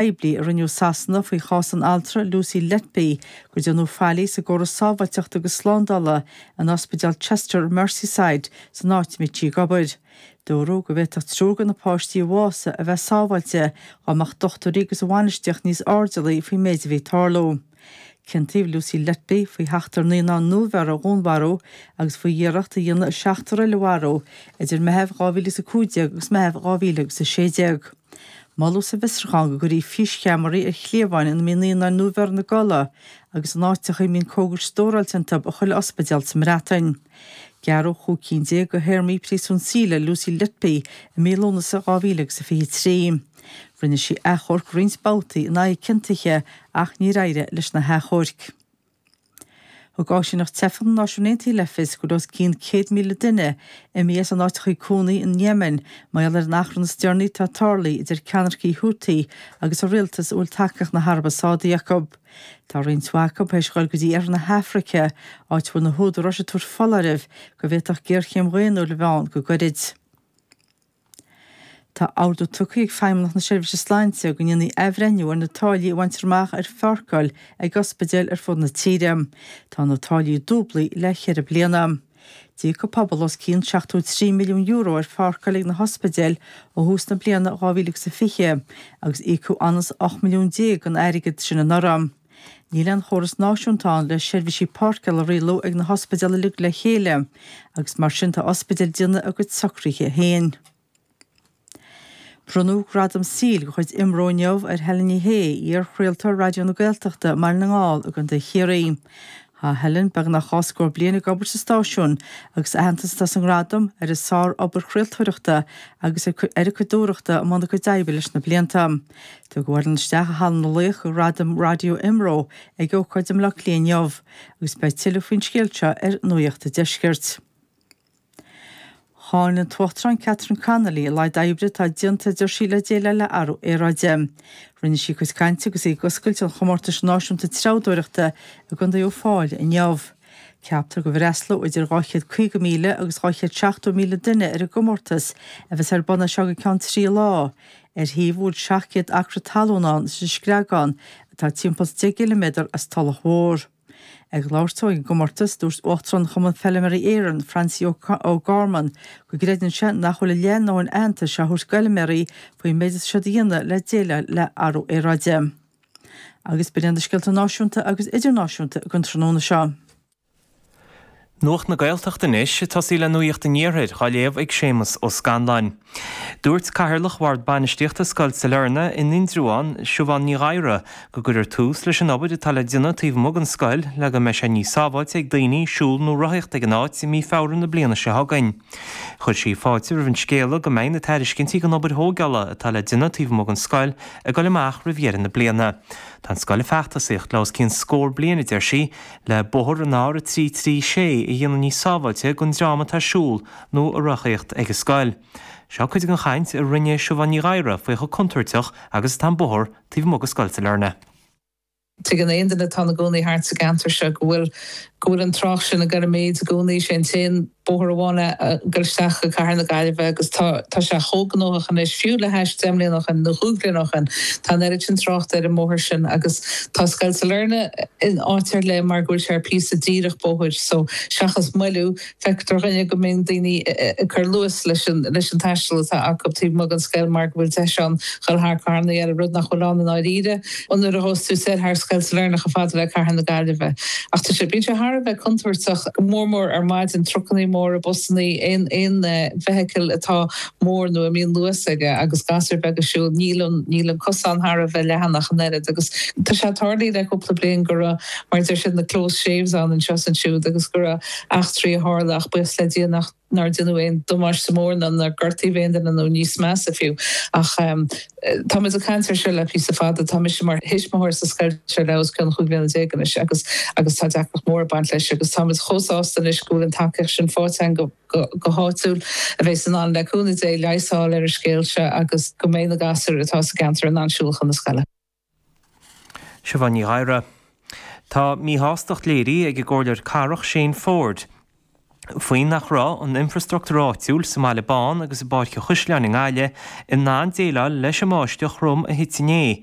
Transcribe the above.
Poiblí a rinneadh i Sasana faoi chás an altra Lucy Letby gur déanadh faillí sa gcóras sábháilteachta agus slándála in ospidéal Chester Merseyside san áit a mbíodh sí ag obair. Dúradh go bhféadfadh triúr de na páistí a bhásaigh a bheith sábháilte dá mbeadh dochtúirí agus an bhainistíocht níos airdeallaí faoin méid a bhí ag tarlú. Ciontaíodh Lucy Letby faoi sheachtar naíonán nuabheirthe a dhúnmharú agus faoi iarracht a dhéanamh seachtar eile a mharú idir Meitheamh 2015 agus Meitheamh 2016. Moladh sa bhfiosrúchán go gcuirfí físcheamaraí ar chliabháin ina mbíonn naíonáin nuabheirthe ina gcodladh agus in áiteacha a mbíonn cógais stóráilte iontu i chuile ospidéal sa mBreatain. Gearradh 15 cinn de théarmaí príosún saoil ar Lucy Letby i mí Lúnasa 2023. Rinne sí achomharc roinnt babhtaí in aghaidh a ciontaithe ach níor éirigh leis na hachomhairc. Thug Áisíneacht Teifeach na Náisiún Aontaithe le fios go bhfuil os cionn 100,000 duine imithe as a n-áiteacha cónaí in Yemen mar gheall ar an achrann is deireanaí atá tarlaithe idir ceannaircigh Houthi agus an rialtas a bhfuil tacaíocht na hAraibe Sádaí acu. Tá roinnt mhaith acu théis dhul go dtí iarthar na hAfraice, áit a bhfuil na húdaráis ag tabhairt foláirimh go bhféadfadh géarchéim dhaonnúil a bheith ann go gairid. Tá ordú tugtha ag Feidhmeannacht na Seirbhíse Sláinte go ndéanfaí athbhreithniú ar na táillí a bhaintear amach ar pháirceáil ag ospidéil ar fud na tíre. Tá na táillí dúblaithe le ceithre bliana. D'íoc an pobal os cionn €73 milliún ar pháirceáil ag na hospidéil ó thús na bliana 2020 agus íocadh anuas 18 milliún den airgead sin anuraidh. Níl aon chóras náisiúnta ann le seirbhísí páirceála a rialú ag na hospidéil uilig le chéile agus mar sin tá ospidéil ag déanamh a gcuid socruithe féin. Bronnadh gradam saoil de chuid IMRO inniu ar Helen Ní Shé, iar-chraoltóir Raidió na Gaeltachta i mBaile na nGall i gContae Chiarraí. Tá Helen beagnach dhá scór bliain ag obair sa stáisiún agus aitheantas atá sa ngradam ar a sár-obair chraoltóireachta agus ar a cuid dúthrachta i mbun a cuid oibre leis na blianta. Tugadh Helen isteach i Halla na Laoch do Ghradaim Raidió IMRO ag ócáid i mBaile Átha Cliath inniu agus beidh tuilleadh faoin scéal seo ar Nuacht an Deiscirt. Cháin an tUachtarán Catherine Connolly a laghad oibre atá déanta, a deir sí, le déileáil le athrú aeráide. Rinne sí a cuid cainte agus í ag oscailt an chomórtais náisiúnta treabhdóireachta i gContae Uíbh Fhailí inniu. Ceaptar go bhfreastalóidh idir 250,000 agus 270,000 duine ar an gcomórtas a bheas ar bun as seo go ceann trí lá, ar shuíomh a bhfuil 700 acra talún ann sa Screagán atá timpeall is 10 gciliméadar as Tulach Mhór. Ag labhairt dó ag an gcomórtas, dúirt Uachtarán Chumann Feilméaraí Éireann, Francie O'Gorman, go gcreideann sé nach bhfuil a leath a ndóthain aitheantais á thabhairt d'fheilméaraí faoin méid atá siad a dhéanamh le déileáil le athrú aeráide. Agus b'in iad na scéalta náisiúnta agus idirnáisiúnta don tráthnóna seo. Nuacht na Gaeltachta anois, ag tosaí le Nuacht an Iarthair, á léamh ag Séamus Ó Scanláin. Dúirt Cathaoirleach Bhord Bainistíochta Scoil Sailearna in Indreabhán, Siubhán Ní Ghadhra, go gcuirfear tús leis an obair atá le déanamh taobh amuigh den scoil le go mbeidh sé níos sábháilte ag daoine siúl nó rothaíocht ag an áit i mí Feabhra na bliana seo chugainn. Chuir sí fáilte roimh an scéala go mbeidh na tairiscintí don obair thógála atá le déanamh taobh amuigh den scoil ag dul amach roimh dheireadh na bliana. Tá an scoil ag feachtasaíocht le os cionn scór bliain, a deir sí, le bóthar an R336 a dhéanamh níos sábháilte don dream atá ag siúl nó ag rothaíocht ag an scoil. Seo cuid den chaint a rinne Siubhán Ní Ghadhra faoi chomh contúirteach agus atá an bóthar taobh amuigh de Scoil Sailearna. Tuigeann aon duine atá ina gcónaí thart sa gceantar seo go bhfuil go bhfuil an trácht sin ag dul i méid i gcónaí. Sé an t-aon bóthar amháin a ghoil isteach go Cathair na Gaillimhe agus tá tá sé chomh gnóthach anois, fiú le hais 10 mbliana ó shin nó chúig bhliana ó shin, tá an oiread sin tráchta ar an mbóthar sin agus tá Scoil Sailearna in áit ar leith mar go bhfuil sé ar píosa díreach bóthair so seachas moilliú Feictear do dhuine go mbíonn daoine ag cur luas leis an leis an taisteal atá acu taobh amuigh den scoil mar go bhfuil deis ann dhul thar carrannaí eile, rud nach bhfuil ann i ndáiríre nuair a ghabhas tú soir thar Scoil Sailearna chomh fada le Cathair na Gaillimhe. Ach tá sé, bíonn sé thar a bheith contúirteach, go mór mór ar maidin, trucannaí móra, busannaí, aon aon bhfeithicil atá mór nó a mbíonn luas aige agus gasúir bheaga ag siúl, níl an níl an cosán thar a bheith leathan ach an oiread agus tá sé tarlaithe le cúpla bliain go raibh mar a deir siad na close shaves ann anseo is ansiúd agus go raibh eachtraí a tharla ach buíochas le Dia nach nár deineadh aon damáiste mór ná nár gortaíodh aon duine nó níos measa fiú. Ach táimid ag caint air seo le píosa fada. Tá mise mar thuismitheoir sa scoil seo le os cionn chúig bliana déag anois agus agus tá deacracht mhór ag baint leis agus táimid chomh sásta anois go bhfuil an tacaíocht sin faighte againn go go háitiúil a bheas in ann le cúnamh Dé leigheas a fháil ar an scéal seo agus go mbeidh na gasúir atá sa gceantar in ann siúl chun na scoile. Siobhán Ní Ghadhra. Tá míshástacht léirithe ag an gComhairleoir Cathrach Shane Forde. Faoi nach raibh an infreastruchtúr áitiúil sa mBaile Bán agus i bPáirc an Chaisleáin i nGaillimh in ann déileáil leis an mbáisteach throm a thit inné.